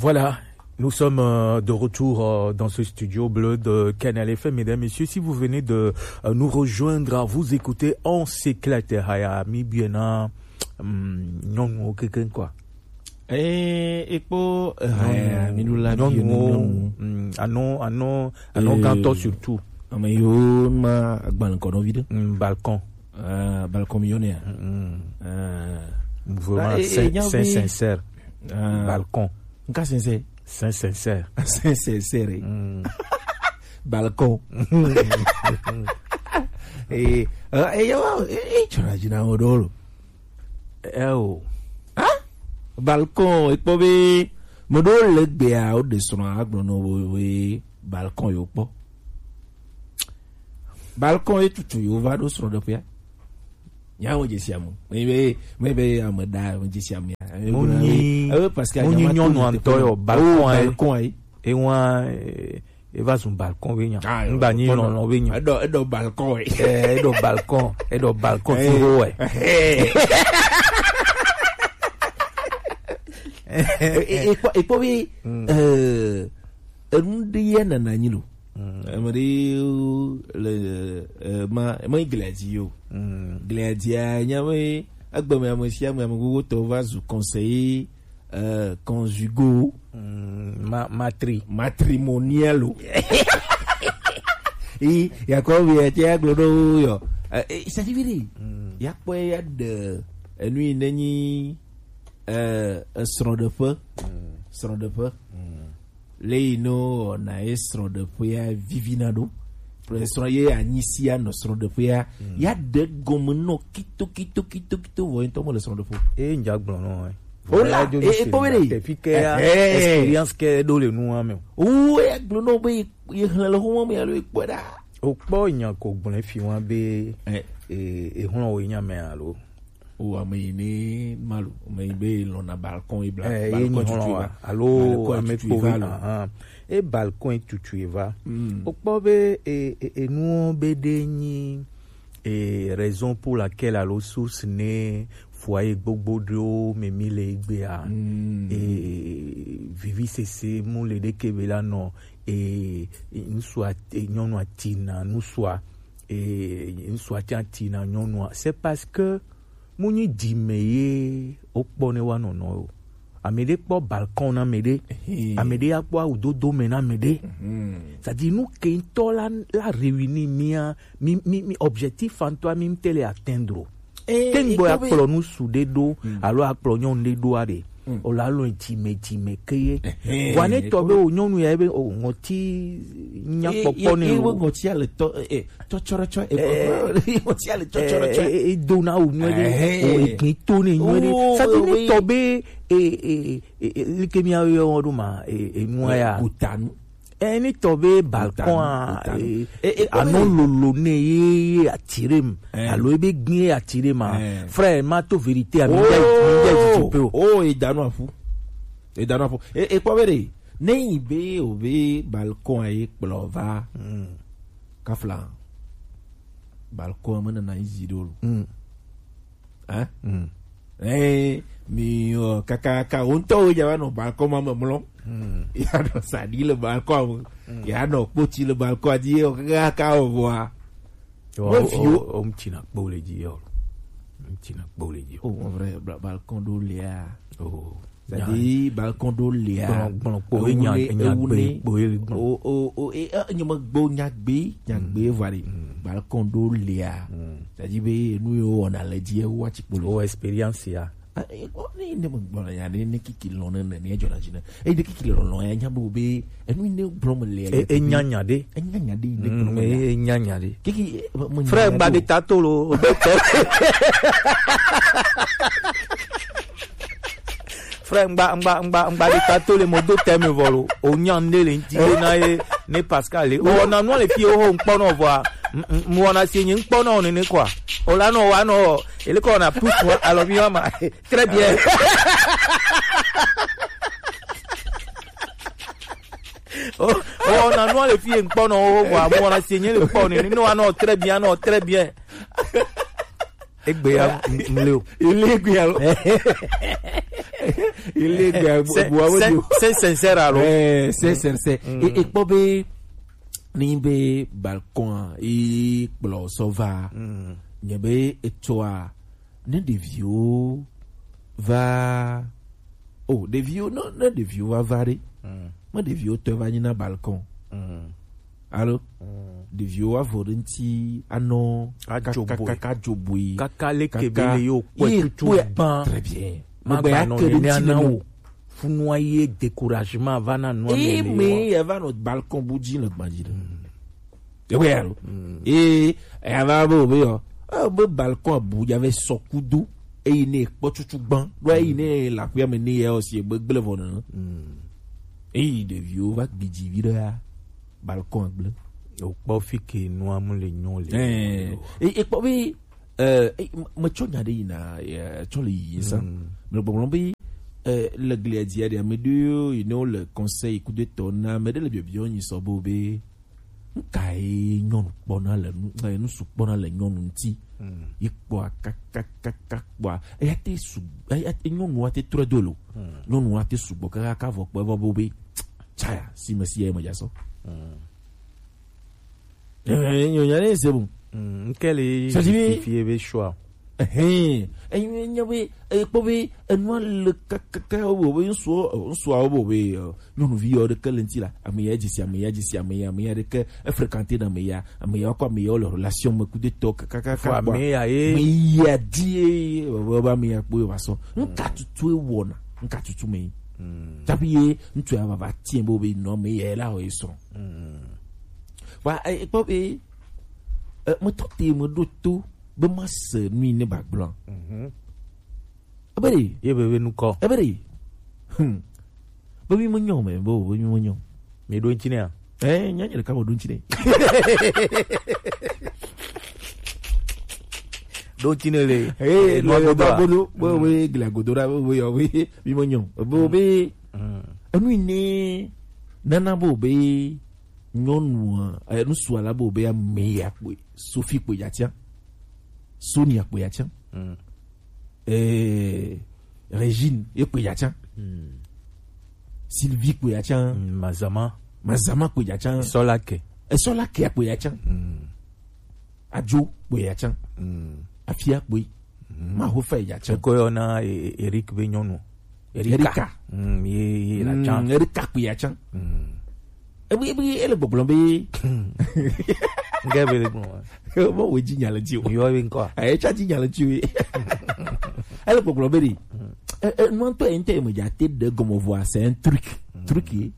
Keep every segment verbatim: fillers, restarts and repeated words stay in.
Voilà, nous sommes euh, de retour euh, dans ce studio bleu de Canal F M. Mesdames, Messieurs, si vous venez de euh, nous rejoindre, vous écoutez On s'éclate. Haya, mi biena, hum, nyɔnuwo kekeŋ, quoi. Eh, ekpo, eh, nyɔnuwo, mi nu la bi nyɔnuwo, nyɔnuwo. Hum, anɔ, anɔ, anɔ gãtɔ surtout. Ame yiwo ma agbalẽ kɔ nɔ vi ɖe. Hum, balcon. Ah, balcon mi yɔnɛ ya. Hum. Ah. Vraiment, c'est sincère. Ah. Balcon. Nka sɛnsɛ. Sɛnsɛnsɛ. Sɛnsɛnsɛ re. Balcon. Eh, eh, eh, yo, eh, eh, tsɔna dzi na wo ɖo lo. Eh, oh. Hein? Balcon, ekpɔ be, me ɖo le gbea, o de srɔ̃ agblɔ no wo, we, balcon yo kpɔ. Balcon ye tutu yo va ɖo srɔ̃ɖeƒea. Nyawo dze sia mu. Me be, me be ame da, me dze sia mu ya. Mu nyi, eh, parce que mu nyi nyɔnu antɔ yo, balcon, eh. Balcon, eh. E wa, eh, e va zun balcon be nya. Ah, yo, ngba nyi lɔlɔ be nya. Eɖɔ, eɖɔ balcon, eh. Eh, eɖɔ balcon, eɖɔ balcon fi ho, eh. Eh, eh, ekpɔ, ekpɔ be, eh, enu ɖe ye nana nyi lo. Ame ɖewo le, eh, ma, ma yi glia dzi yo. Glia dzia, nya be egbe me ame sia ame, ame gbogbo tɔ va zu conseiller, eh, conjugal. Ma-, matri-, matrimonial o. Yi, ya kɔ bi ya tia glo ɖo yo. Eh, eh, c'est-à-dire, ya kpɔ ya de, enu yi ne nyi, eh, srɔ̃ɖeƒe. Srɔ̃ɖeƒe. Le yi no na ye srɔ̃ɖeƒea vivina ɖo. Srɔ̃ ye anyi sia nɔ srɔ̃ɖeƒea. Ya ɖe gɔme nɔ kito, kito, kito, kito, vɔ ŋutɔ mele srɔ̃ɖeƒe o. Eye ŋdza gblɔ nɔ, eh. O la, e, e kpɔ be ɖe. Tefi ke ya, experience ke ɖo le nua me o. O, e gblɔ nɔ be ye, ye hlẽ le xɔmɔ me alo e kpɔe ɖa. O kpɔ nya ko gblɔ fi wa be, eh, e, e hlɔ̃ wo nya me alo. O ame yi ne ma lo, ame yi be lɔna balcon yi bla, eh, balcon tutu va. Alo balcon ame tutu kpo va lo. Ahan. E balcon tutu va. Mm. O kpɔ be e, e, enuwo be ɖe nyi e raison pour laquelle alo source ne foyer gbogbo ɖewo me mi le egbea. Mm. E, vivisese mu le ɖeke be la nɔ e, ŋsua, e, nyɔnua tina ŋsua, e, ŋsua tsa tina nyɔnua. C'est parce que mu nyi dzi me ye wokpɔ ne wa nɔnɔ o. Ame ɖe kpɔ balcon na ame ɖe. Ehe. Ame ɖe ya kpɔ awu dodo me na ame ɖe. Mhm. C'est-à-dire, nu ke ŋutɔ la, la réunir mia, mi, mi, mi objectif ŋutɔ mi ŋute le atteindre o. Eh, te ŋgbɔ ya kpɔ be kplɔ nu su ɖe ɖo, mm, alo akplɔ nyɔnu ɖe ɖo aɖe. Mm. O la lɔ dzi me, dzi me ke ye. Ehe, vɔ ne tɔ be o nyɔnu ya be o ŋɔti nya kpɔkpɔ ne o. Ŋɔti ale tɔ, eh, tɔtsɔrɔtsɔ, eh, ŋɔti ale tɔtsɔrɔtsɔ. Eh, eh, eh, do na o nyuie ɖe, ehe, o egbe to ne nyuie ɖe. Oh, sadi ne tɔ be, eh, eh, eh, eh, like mi ayo wo ɖo ma, eh, eh, nua ya. Kutanu. Eh, ne tɔ be balcon a, kutanu, kutanu, eh, eh, eh, anɔ lolo ne ye, ye attiré m. Eh. Alo ebe gbin ye attiré ma. Eh. Frère, ma to vérité a, mi ŋdza, mi ŋdza didi pe o. Oh, edanu afu. Edanu afu. E, e kpɔ be ɖe. Ne yi be o be balcon a ye kplɔ va. Mm. Kafla. Balcon a me nana yi zi ɖo lo. Mm. Hein? Mm. Eh, mi, ɔ, kakaka, wo ŋutɔ wo dza va nɔ balcon ma me mlɔ. Mm. Ya nɔ saɖi le balcon me. Mm. Ya nɔ kpoti le balcon dzi, ɔ, kakaka, ɔ, vɔa. Ɔ, me o, fi o, o, o, ŋuti na kpɔ le dzi, ɔ. Ŋuti na kpɔ le dzi. Oh, en vrai, bla-, balcon ɖo lia. Oh. C'est-à-dire, balcon ɖo lia. Gblɔ, gblɔ kpo, ewu enya, ne, enya ewu gbe ne. Kpo ye gblɔ. O, o, o, e, e, nye me gbo nya gbe, nya gbe va ɖe. Mm. Balcon ɖo lia. Mm. C'est-à-dire be, nu yo wɔna le dzi, ewu atsi kpo le. O expérience ya. Ah, e, o, ne, ne me gblɔ na ya, ne, ne kiki lɔ ne, ne, ne dzɔ na dzi ne. E, ne kiki lɔ lɔ ya, nya bo be, enu ne gblɔ me le. E, e nya nya ɖe. E nya nya ɖe, ne gblɔ me le. Mm, e, e nya nya ɖe. Kiki, e, me, me nya nya ɖe o. Frère, gba de ta to lo. Frère, ŋgba, ŋgba, ŋgba, ŋgba ɖeka to le mo do tɛ me vɔ lo. O nya ne le ŋti na ye, ne Pascal le. O na nua le fi o ho ŋkpɔ nɔ vɔa. M-, m-, mo na si nye ŋkpɔ nɔ nene quoi. O la nɔ wa nɔ, ele ko na plus wa, alors mi wa ma. Très bien. O, o na nua le fi ŋkpɔ nɔ o vɔa, mo na si nye le kpɔ nene, no wa nɔ très bien, nɔ très bien. Egbe ya, m-, m-, le o. Ele egbe ya lo. Il est c'est sincère alors. Eh, c'est sincère. Et et kpɔ be ni be balcon a, il kplɔ sɔ va. Nye be etsɔa, ne ɖeviwo va, oh, ɖeviwo, ne, ne ɖeviwo va va ɖe, me ɖeviwo tɔ va nyi na balcon. Alo ɖeviwo avɔ ɖe ŋuti anɔ kaka dzoboe. Kaka leke be le yo kpɔe tutu ban. Très bien. Magba nɔ ne ne ana wo. Funua ye découragement va na nua me le. Eme ya va nɔ balcon bu dzi le gbadzi ɖe. Ewe alo. Ee, eya va be obe yɔ. Be balcon abu dza ve sɔ kudo. Eyi ne kpɔ tutu gban. Do eyi ne la kuya me ne ya osi egbe gble vɔ nene. Eyi ɖeviwo va gbidzi vi ɖe ya. Balcon gble. O kpɔ fi ke nua mu le nyɔ le. Eh, e kpɔ be eh, eh, metsɔ nya ɖe yina, eh, tsɔ le yiyi sa. Mele gbɔgblɔm be eh, le glia dzia ɖe ame ɖewo yi ne wole conseil kudo etɔ na ame ɖe le biɔbiɔ nyi sɔ bo be nka ye nyɔnu kpɔna le nu, eh, nusu kpɔna le nyɔnu ŋuti. Yi kpɔa kakakaka kpɔa eya te su, eya te nyɔnua te trɔ do lo. Nyɔnua te sugbɔ kakaka vɔ kpɔ evɔ bo be tsaya si me si ya me dza sɔ. Eh, nyo nya ne se bu. Nke le justifie be choix. Ehe, enyo nya be e kpɔ be enua le kakaka wo be ŋsu ŋsu wo be nyɔnuvi yɔ ɖeke le ŋti la, ame ya dzesi, ame ya dzesi, ame ya, ame ya ɖeke e fréquenté na ame ya, ame ya kɔ ame ya le relation me kudo tɔ kakaka. Ame ya ye ame ya di ye be ame ya kpɔ va sɔ. Nka tutu e wɔna, nka tutu me. Tapi ye ŋutsu ya va va tiɛ be be nɔ ame ya la o ye srɔ̃. Wa e kpɔ be e me tɔ te me ɖo to be ma se nu yi ne ba gblɔ. Ebe ɖe ye be be nukɔ. Ebe ɖe. Hmm. Be mi me nyɔ me, be be mi me nyɔ. Mi ɖo ŋti ne ya? Eh, nya nya ɖeka me ɖo ŋti ne. Ɖo ŋti ne le. Eh, no godo. Be be gla godo ra be be yɔ be mi me nyɔ. Be be enu yi ne nana be be nyɔnua, eh, ŋsu ala be be ame ya kpoe, Sophie kpoe ya tia. Sonia kpoe ya tia. Eh, Régine ye kpoe ya tia. Sylvie kpoe ya tia. Mazama. Mazama kpoe ya tia. Esola ke. Esola ke kpoe ya tia. Ajo kpoe ya tia. Afia kpoe. Mahofa ya tia. Ko yɔ na Eric be nyɔnu. Erika. Erika. Mm, ye, ye la chan. Erika kpi ya chan. Mm. Ebi, ebi, ele gbɔgblɔ be. Nge be le gbɔgblɔ. Mo wo dzi nya le dzi o. Yo be nkɔ. Eh, tsa dzi nya le dzi o. Ele gbɔgblɔ be di. Eh, eh, no to ente me dza te de gɔme vɔa, c'est un truc. Truc ye.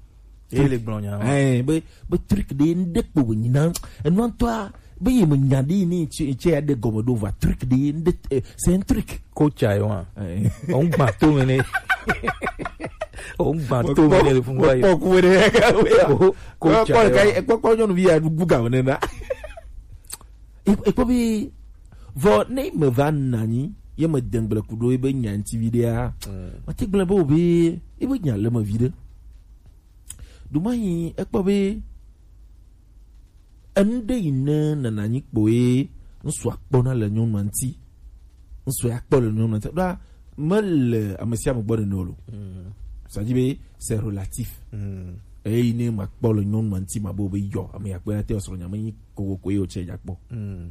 Ye le gblɔ nya. Eh, be, be truc de nde kpo be nyina. Enu ŋutɔa, be ye me nya de ni tse, tse ya de gɔme do va truc de nde, eh, c'est un truc. Coach ayo, hein. Eh. On gba to me ne. On gba to me ne le fun wa yo. Kpɔ ku de ka we. Coach ayo. Kpɔ ka, kpɔ, kpɔ nyɔnuvi ya du ga ne na. E, e kpɔ be, vɔ ne me va nanyi, ye me dengble kudo ebe nyanti vi de a. Mm. Ma te gblɔ be o be, ebe nya le me vi de. Ɖo ma yi ekpɔ be enu ɖe yi ne nana nyi kpoe ŋsu akpɔna le nyɔnua ŋti. Ŋsu akpɔ le nyɔnua ŋti. Ɖoa mele ame sia ame gbɔ nene o lo. Mm. Ça dit be c'est relatif. Mm. Eyi ne makpɔ le nyɔnua ŋti ma bo be yɔ, ame ya kpɔe na te srɔ̃ nya me nyi kokoko ye o tse ya kpɔ. Mm.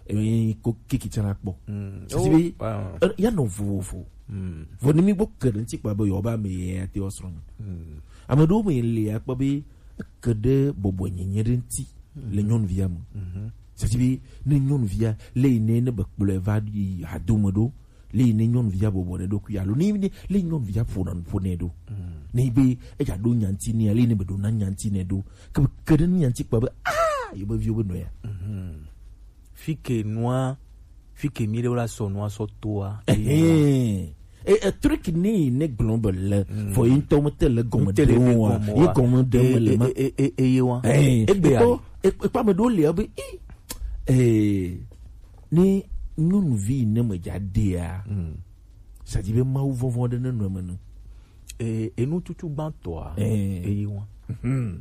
Emi ko kiki tsã la kpɔ. Mm. Sisi be, eh, ya nɔ vovovo. Mm. Vɔ ne mi gbɔ ke ɖe ŋti kpa be yewoa be ame ya te woasrɔ̃ nu. Mm. Ame ɖewo me le akpɔ be eke ɖe bɔbɔenyenye ɖe ŋti le nyɔnuvia me. Mhm. Sisi be ne nyɔnuvia le yi ne, ne be kplɔe va yi hadome ɖo, le yi ne nyɔnuvia bɔbɔ ɖe ɖokui alo ne, ne le nyɔnuvia ƒona nu ƒo nɛ ɖo. Mm. Ne yi be eya ɖo nyanti nɛ, le yi ne be ɖo na nyanti nɛ ɖo. Ke be ke ɖe nu nyanti kpa be, ah, ye be viwo be nɔya. Mhm. Fi ke nua, fi ke mi ɖewo la sɔ nua sɔ toa. Ehe. E, e truc ni ne gblɔ be le, mm, vɔ yi ŋutɔ mete le gɔme ɖe o wa. Ye gɔme ɖe me le ma. E, e, e, e, ye wa. Eh, egbe ya. Ekpɔ, e, ekpɔ ame ɖewo le be, eh, eh, ne nyɔnuvi ne me dza ɖea, mm, ça dit be Mawu vɔvɔ̃ ɖe ne nɔ eme ne. E, enu tutu gbãtɔa, eh, eyi wa. Mhm.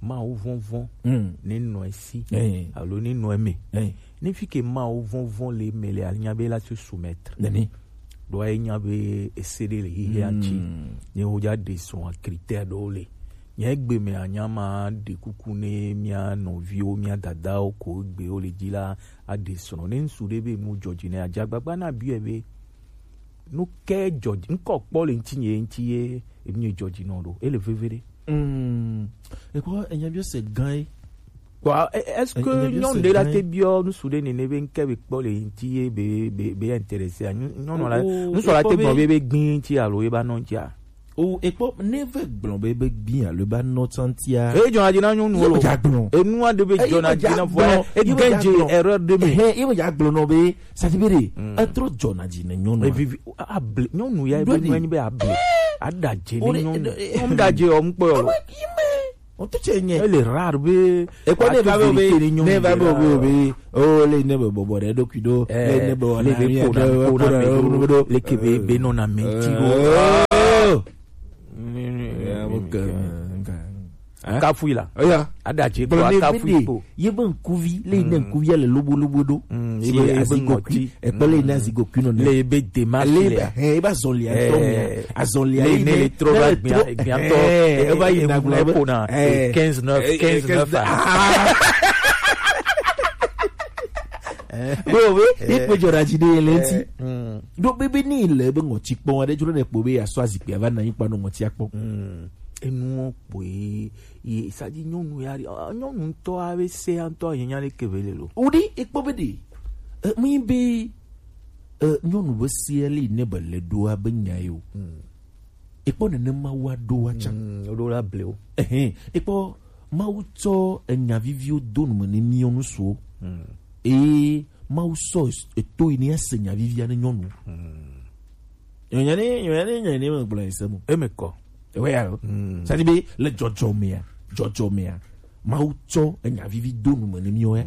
Mawu vɔvɔ̃, mm, ne nɔ esi, eh, alo ne nɔ eme. Eh. Ne fi ke Mawu vɔvɔ̃ le eme le, anya be la se soumettre. Nene. Ɖo enya be ese ɖe le xexea ŋuti. Nye wo dza ɖe srɔ̃a critère ɖewo le. Nye egbe me anya ma ɖe kuku ne mía nɔviwo, mía dadawo ko egbewo le dzi la aɖe srɔ̃. Ne ŋsu ɖe be nu dzɔ dzi ne adze agbagba na biɔe be nu ke dzɔ dzi ŋkɔ kpɔ le ŋuti nye ŋuti ye enu dzɔ dzi nɔ ɖo. Ele veve ɖe. Mm. Ekpɔ enya biɔ se gã ye. Bon, e- est-ce que nyɔnu ɖe la te biɔ ŋsu ɖe nene be ŋke be kpɔ le ŋuti ye be be be intéressé a? Nyɔ- nyɔnu la ŋsu la te gblɔ be be gbi ŋuti alo ye ba nɔ ŋuti a? O ekpɔ ne ve gblɔ be be gbi alo ba nɔ tsantia. E dzɔna dzi na nyɔnu lo. Ye dza gblɔ. Enu aɖe be dzɔna dzi na vɔ e gɛn dze erreur de me. He ye dza gblɔ nɔ be sati be de etrɔ dzɔna dzi ne nyɔnu. Evivi able nyɔnu ya be nu enyi be able. Ada dze ne nyɔnu. Nyɔnu da dze ɔmu kpɔ yɔ. O to tse nye. Ele rare be. Ekpɔ ne va be obe ne va be obe obe o le ne be bɔbɔ ɖe ɖokui ɖo le ne be wɔna mi ɖe ko na mi ɖo le ke be be nɔ na mi ti ɖo. Kafui la. Oya. Ada dze ko kafui ko. Ye be ŋkuvi le ne ŋkuvi le lobo lobo ɖo. Si ye be azigo kui. Ekpɔ le na zigo kui nɔ ne. Le be démarche le. He eba zɔli atɔ mia. Azɔli le ne le trɔ ba gbia gbia tɔ. Eba yi na gblɔ be kona quinze neuf quinze neuf a. Wo be ye kpe jɔ ɖe dzi ɖe le ŋuti. Do be be ni le be ŋɔti kpɔn aɖe dzro ne kpo be ya sɔ azikpia va na yi kpa no ŋɔti akpɔ. Enuwo kpoe ye sadi nyɔnu ya nyɔnu ŋutɔ ave se ŋutɔ yenya ɖe kebe le lo. Wo ɖi ekpɔ be ɖe. Mi be nyɔnu be sia li ne be le ɖoa be nya yo. Ekpɔ nene Mawu aɖo wa tsa. Oɖo la ble o. Ehɛn, ekpɔ Mawu tsɔ enya viviwo do nu me ne miɔ nu suwo. Eye Mawu sɔ eto yi ne ase nya vivia ne nyɔnu. Nyɔnya ne nyɔnya ne nyɔnya ne me gblɔ ese mo. Eme kɔ. Ewe ya lo. Sadi be le dzɔdzɔ mea, dzɔdzɔ mea. Mawu tsɔ enya vivi do nu me ne miɔ ya.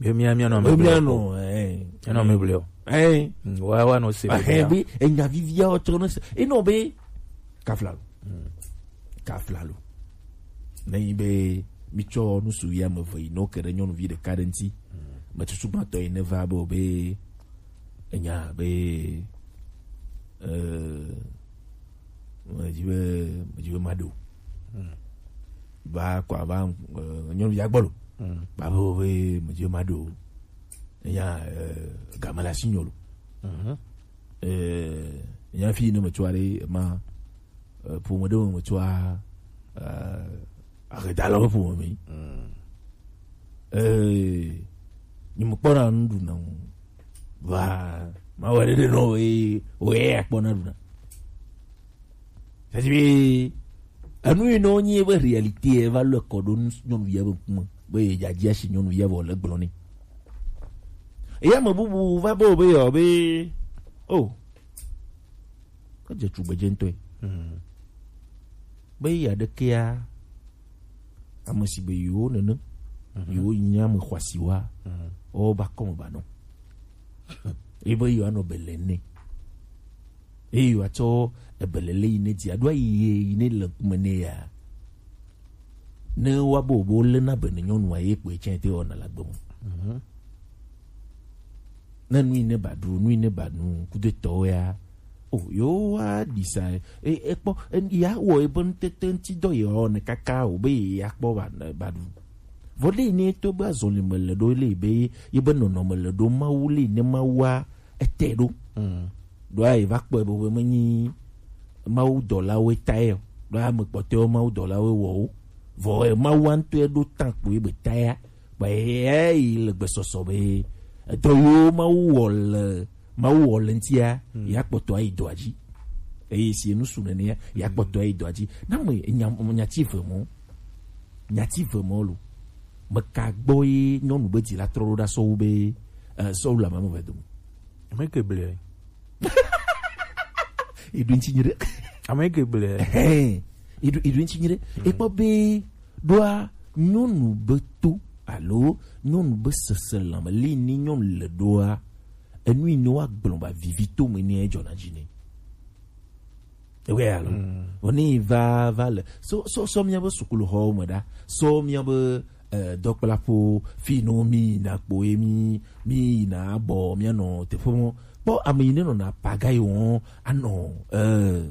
Be mía mía nɔ me mía nɔ eh mía nɔ me bleo eh wa wa nɔ se be enya vivia o tsɔ nɔ se enɔ be kafla lo kafla lo ne yi be mi tsɔ nusu ya me ve yi no ke ɖe nyɔnuvi ɖeka ɖe ŋti me tutu gbãtɔ yi ne va be o be enya be eh medzi be medzi be maɖo va kɔ ava eh, nyɔnuvi agbɔ lo bavo be medzi be maɖo enya eh, game le asi nyɔ lo eh, enya fi ne metsɔ aɖe ma eh, ƒome ɖe me metsɔ eh, ahedalawo ƒome me eh, nyemekpɔna nuɖuna ŋu va mawɔ ɖeɖe nɔ eye woye akpɔna ɖuna Sasi be enu yi nɔ nyi be réalité va lɔ kɔ ɖo nyɔnuvia be ŋkume be ye dzadzi asi nyɔnuvia vɔ le gblɔ nɛ. Eya me bubu va be o be yɔ be o edze tugbedze ŋutɔe be yi aɖekea ame si be yewo nene yewo nyi ame xɔasiwa wowo ba kɔme ba nɔ ebe yewo anɔ be le nɛ. Eye wòatsɔ ebelele yi ne dzi aɖo ayi ye yi ne le ŋkume nɛ ya. Ne woabe wòbe wolé na be ne nyɔnua ye kpoe tsɛ te wɔna le agbe me. Ne nu yi ne ba ɖu, nu yi ne ba nu, kudetɔwo ya. O yewo wa ɖi sa e ekpɔ ya wɔ ebe ŋutete ŋuti dɔ ye wɔ ne kaka o be ye ya kpɔ ba ba ɖu. Vɔ ɖe yi ne to be azɔli me le ɖo le be ye be nɔnɔ me le ɖo Mawu le ne Mawua ete ɖo. Ɖoa eva kpɔe be be menyi Mawu dɔlawoe tae o. Ɖoa ame kpɔtɔewo Mawu dɔlawoe wɔ wo. Vɔ Mawu ŋutɔe ɖo tan kpoe be taea. Kpɔ eya yi le gbesɔsɔ be edɔ yiwo Mawu wɔ le Mawu wɔ le ŋutia ya kpɔtɔ ayi dɔa dzi. Eye si enu su nenea ya kpɔtɔ ayi dɔa dzi. Na me nya nya ti ve mɔ. Nya ti ve mɔ lo. Meka gbɔ ye nyɔnu be dzi la trɔ ɖo ɖa sɔwu be eh, sɔwu le ame eve dome. Ame ke ble. Eɖo ŋuti nyi ɖe. Ame ke ble. Hɛn. Eɖo eɖo ŋuti nyi ɖe. Ekpɔ be ɖoa nyɔnu be to alo nyɔnu be sese lãme li ni nyɔnu le ɖoa enu yi ne woagblɔ ba vivi to me ne edzɔna dzi ne. Ewe alo. Oni va va le so so so mía be sukulu xɔwo me ɖa so mía be eh, dɔkplaƒo fi no mi yina kpo ye mi mi yina abɔ mía nɔ teƒe mɔ Kpɔ ame yi ne nɔna paga yi wɔn anɔ, eh,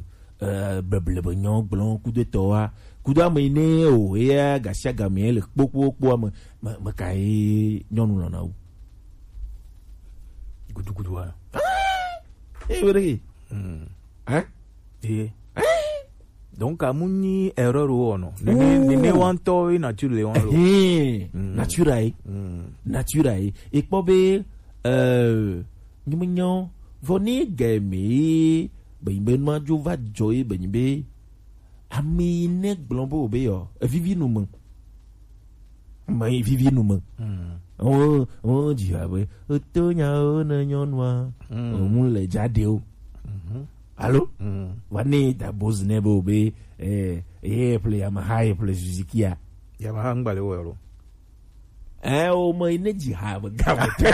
eh, bleble be nyɔ gblɔ kudo etɔ wa. Kudo ame yi ne o, eya gasiagame le kpokpokpoa me, me, me ka ye nyɔnu lɔna wu? Gudugudu wa. Eh, wele ke. Hmm. Hein? Ye. Donc, amu nyi erreur wo no. Nene, nene wantɔ ye nature le wan lo. Eh, nature ai. Nature ai. E kpɔ be, euh, nyi me nyɔ, vɔ ne ge me, be, be ma jo va jɔ ye, be nyi be, ami ne gblɔ bo be yo, e vivi nu me. Me vivi nu me. Mm. Oh, oh, dzi ha be, eto nya o ne nyɔnua, mm, o mu le dza de o. Mhm. Alo? Mm. Va ne da boz ne be o be, eh, ye ple Yamaha, ye ple Suzuki a. Yamaha ŋgba le wo lo. Eh, o me ne dzi ha be ga me te.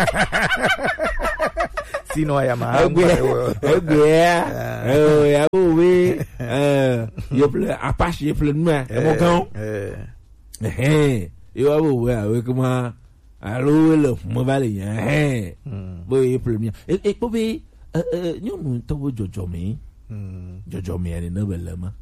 Sinon, Yamaha ŋgba le wo lo. Egbe ya. Ah. Eh, ya o be, eh, ye ple Apache, ye ple nua, e mo gan. Eh. Ehe, ye wa bo we awe kuma, alo we le me va le nya, ehe. Mm. Bo ye ple mia. E, e kpɔ be, e, e, nyɔnu ŋutɔ bo dzɔdzɔme. Mm. Dzɔdzɔme ne ne be le ma.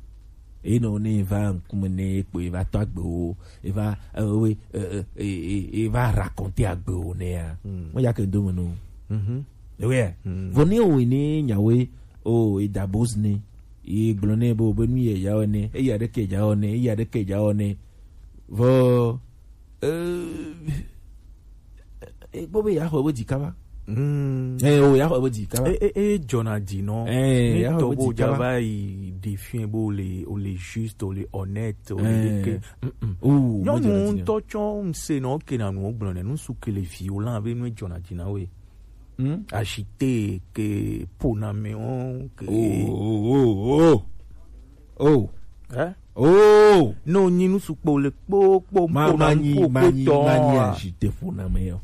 E nɔ ne va ŋkume ne e kpɔ e va tɔ agbe wo, e va, e, we, e, e, e, e, e va raconter agbe wo ne ya. Mm. Mo ya ke do me no. Mhm. Ewe ya. Mm. Vɔ ne o ne nyawe, o, e da boz ne. E gblɔ ne bo be nu ye ya o ne, e ya de ke ja o ne, e ya de ke ja o ne. Vɔ, eh, e gbɔ be ya xɔ be dzi kaba. Mm. Eh, o ya xɔ be dzi kaba. E, e, e dzɔna dzi nɔ. Eh, ni ya xɔ tɔ be bo dzi ja kaba. Va yi ɖe fiɛ bo le, o le juste, o le honnête, o le, eh, ke. Mm, mm. O, nyɔnu ŋutɔ tsɔ ŋse nɔ ke na nu gblɔ ne, nu su ke le vi o la be nu dzɔna dzi na we. Hmm? Acheter ke poname o ke. Oh, oh, oh, oh. Oh. Eh? Oh. No nyi nu sukpo le kpo kpo ma, kpo ma na nyi, kpo ma kpo nyi, tɔ ma nyi a. Acheter poname yo.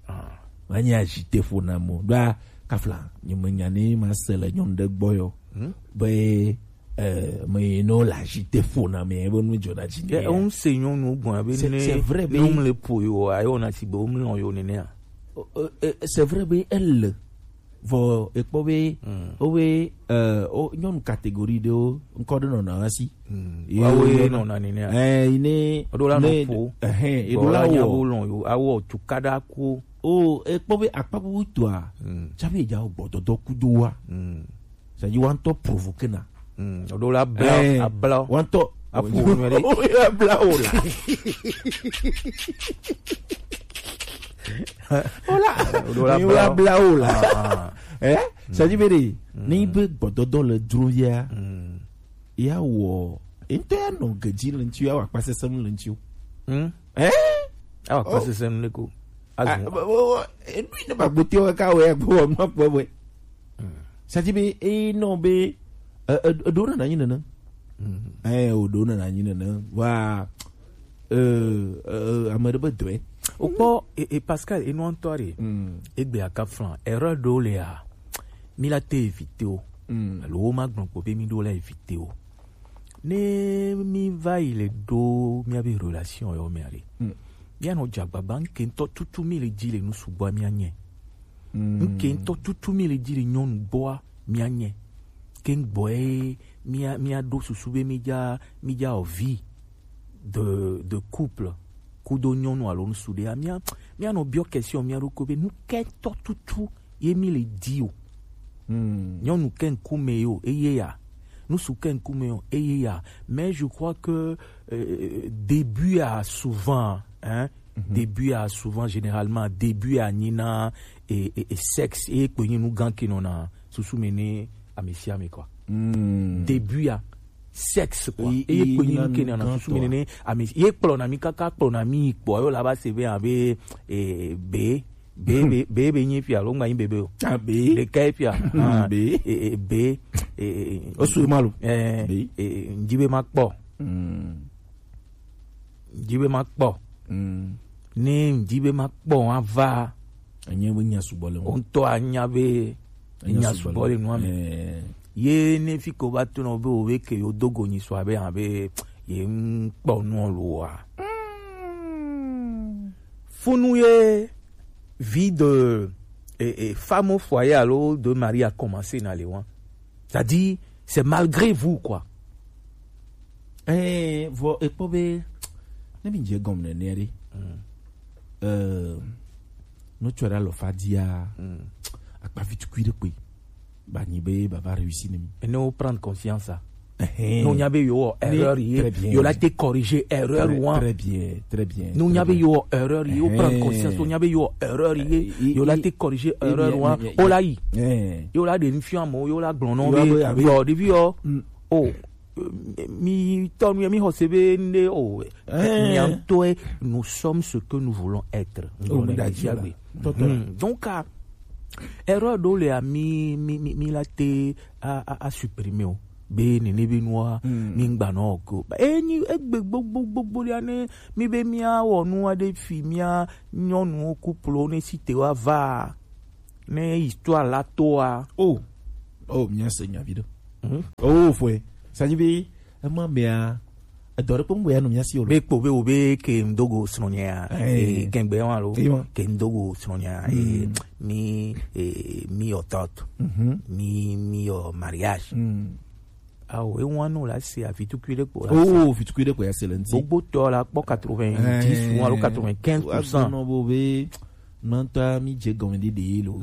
Ah. Ma nyi acheter poname o. Ɖoa kafla, nye me nya ne ma se le nyɔnu ɖe gbɔ yo. Hmm? Be, eh, me no la acheter poname, be nu dzɔna dzi ne. Eh, on se nyɔnu gbɔn be ne. C'est, c'est vrai, be nyɔnu le po yo, ayo na si be o mlɔ yo nenea. Euh, euh, c'est vrai be elle. Vɔ e kpɔ be, mm, o be, euh, o nyɔnu catégorie ɖewo ŋkɔ ɖe nɔna asi. Mm. Ye wa wo ye nɔna nene a. Eh, ine. O ɖo la ne nɔ ƒo. Ehe, e ɖo la wɔ. Nya wo lɔn yo, awɔ tukaɖa ko. O, e kpɔ be akpa bubu toa. Mm. Tsaƒe dza gbɔdɔdɔ kudo wa. Mm. C'est-à-dire, wa ŋutɔ provoquer na. Mm, o ɖo la bla, eh, abla. Wa ŋutɔ. Aƒo nu ɖe. O ya bla o la. O la. O ɖo la bla. O la bla o la. Ah, ah. Eh? C'est-à-dire, be ɖe, mm, ne be gbɔdɔdɔ le dro via, mm, ya wɔ, ŋutɔ ya nɔ gedzi le ŋuti, ya wɔ akpa sesẽ le ŋuti o. Mm. Eh? Awɔ akpa sesẽ le ko. Azu. Ah, bo, bo, bo, e ɖo ne ba gbote wa ka wɔ ya gbo wɔ nu akpɔ wɛ. C'est-à-dire be, e nɔ be, e, e, e ɖo nana nyi nene. Mm. Eh, o ɖo nana nyi nene. Wa, euh, euh, ame ɖe be dɔe. O kpɔ, e, e, Pascal, e nɔ ŋutɔ ɖe. Mm. Egbe aka flan. Erreur ɖo le ya. Mi la te éviter o. Mm. Alo wo ma gblɔ kpɔ be mi ɖo la éviter o. Ne mi va yi le ɖo mia be relation yo mea ɖe. Mm. Mia nɔ dze agbagba, ŋke ŋutɔ tutu mi le dzi le nu sugbɔ mia nye. Mm. Ŋke ŋutɔ tutu mi le dzi le nyɔnu gbɔa mia nye. Ke ŋgbɔ ye mia, mia ɖo susu be mi dza, mi dza wɔ vie de, de couple. Kudo nyɔnu alo ŋsu ɖe ya. Mia, mia nɔ biɔ question mia ɖokui be nu ke ŋutɔ tutu ye mi le di o. Hmm. Nyɔnu ke ŋkume yo, eye ya. Ŋsu ke ŋkume yo, eye ya. Mais je crois que, euh, début a souvent, hein, mhm, début a souvent, généralement, début a nyina et, et, et sexe, et kpe nyi nu gan ke nɔna susu me ne ame sia ame, quoi. Hmm. Début a sexe, quoi. Eye kpe nyi nu ke nɔna susu me ne ame, ye kplɔna mi kaka, kplɔna mi yi kpɔ, yo la va se be abe, eh, be, be, be, be, be nyi fia lo, ŋgba nyi bebe o. Ah, be. Ɖeka ye fia. Ah, be. Eh, eh, be, eh, eh, eh, o su ma lo. Eh, be. Eh, eh, ŋdi be ma kpɔ. Hmm. Ŋdi be ma kpɔ. Mm. Ne ŋdi be ma kpɔ ava. Enye be nya sugbɔ le ŋu. O ŋutɔ anya be nya sugbɔ le nua me. Eh. Ye ne fi ko va to nɔ be o be ke yo dogo nyi sɔ abe, abe ye ŋkpɔ nuɔ lo wa. Mm. Funu ye vie de, et, et femme au foyer alo de mari a commencé na le wan. C'est-à-dire, c'est malgré vous, quoi. Eh, vɔ ekpɔ be ne mi dze gɔm nene ɖe. Mm. Euh, no tsɔ ɖe alɔfa dia. Mm. Akpavi tukui ɖe kpe. Ba nyi be baba réussi ne mi. Et ne o prendre conscience, ah. Ehɛn. No nya be yo erreur ye. Très bien. Yo la te corriger erreur. Très, wan. Très bien, très bien. No nya be yo erreur ye. O prendre conscience. O nya be yo erreur ye. Eh, yo la te corriger erreur wan. O la yi. Eh. Yo la de nfian mo, yo la gblɔnɔ be yo, depuis yo. Mm. Oh, mi tɔ nu mi xɔ se be nde o. Mi ŋutɔe, nous sommes ce que nous voulons être. Oh, mi da dzi agbe. Tɔtɔ. Hmm. Donc, ah, erreur ɖewo le, ah, mi, mi, mi, mi la te a, a, a supprimer o. Be nene be nua, mi ŋgba nɔ ko. Ba, e nyi egbe gbogbo, gbogbo ɖia ne mi be mia wɔ nu aɖe fi mia nyɔnuwo couple ne si te wa va. Ne histoire la toa. Oh. Oh, mia se nya vi ɖe. Hmm? Oh, foi. Ça dit be, ema mea, edɔ ɖe kpɔm ya no mia si o. Be kpo be o be ke ndogo srɔ̃nyea. Eh. Eh, kengbe wa lo. Eh, wa. Ke ndogo srɔ̃nyea. Eh, mi, eh, mi your thought. Mhm. Mi, mi your mariage. Mm. Awo, e wan no la se afi tukui ɖe kpo la se. Oh, afi tukui ɖe kpo ya se le ŋti. Gbogbo tɔ la kpɔ quatre-vingt-dix ou alors quatre-vingt-quinze pour cent. Wa gbɔnɔ bo be, nɔntɔ mi dze gɔme ɖe ɖe lo.